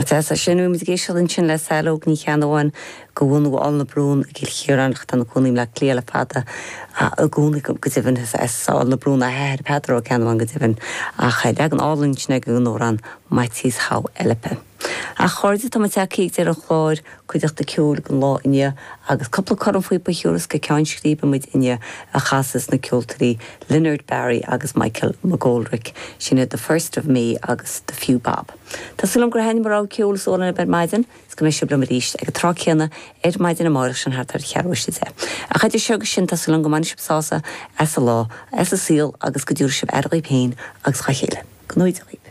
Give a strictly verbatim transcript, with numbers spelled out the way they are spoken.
Tá sin muid ag éisteacht ansin le Saileog Ní Cheannabháin de bhunadh Aill na Brún i gCill Chiaráin ach ina cónaí i mBaile Átha Cliath le fada i gcónaí go deimhin as Aill na Brún a hathair Peadar Ó Ceannabháin go deimhin ach leagan álainn sin den amhrán Maitias Hau'olepe. A chairde tá tagtha ag deireadh an chláir cuideachta ceoil don lá inniu agus cúpla cornphíopa a thiúrfas go ceann scríbe muid inniu a chasas na ceoltóirí Leonard Barry agus Michael McGoldrick sin the first of May agus the Few Bob. Tá súil agam gur thaitin an ceol seo libh ar maidin, is go mbeidh sibh liom arís ag an tráth céanna ar maidin amárach sin thart ar cheathrú tar éis a deich. A idir seo agus sin tá súil agam go mbainfidh sibh sásamh as an lá, as an saol agus go dtabharfaidh sibh aire daoibh féin agus dá chéile. Go ngnóthaí daoibh.